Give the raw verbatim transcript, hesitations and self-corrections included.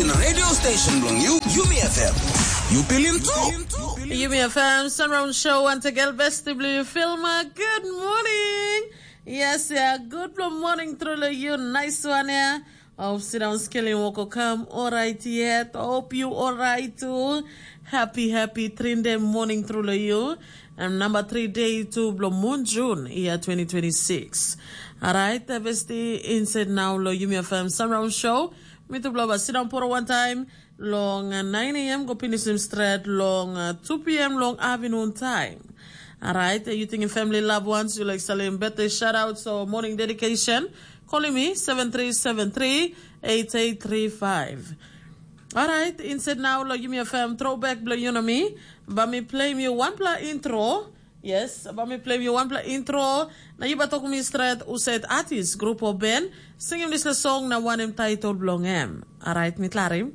In radio station bilong you, Yumi F M. You feeling too? Yumi F M, Sunround Show, once again, best to blue film. Uh, good morning. Yes, yeah, good morning, truly you, nice one, yeah. Hope sit down, scaling woko come, all right yet. Hope you all right too. Happy, happy, trinde morning, truly you. And number three day to blow moon June, year twenty twenty-six. All right, the best inside now, lo Yumi F M Sunround Show. Mitupela bai sindaun poro wantaim long uh, nine a m go pinisim stret long uh, two p m long afternoon time. Alright, uh, you thinking family loved ones, you like selling birthday shout out, so morning dedication. Calling me seven three seven three eight eight three five. Alright, instead now lo yumi a fam throwback blo you know me. Ba mi play mi one pla intro. Yes, ba mi play mi one pla intro. Na you ba talk me straight, usaid artist, group of band. Sing him this song na one him title belong him. Alright, mi klarim.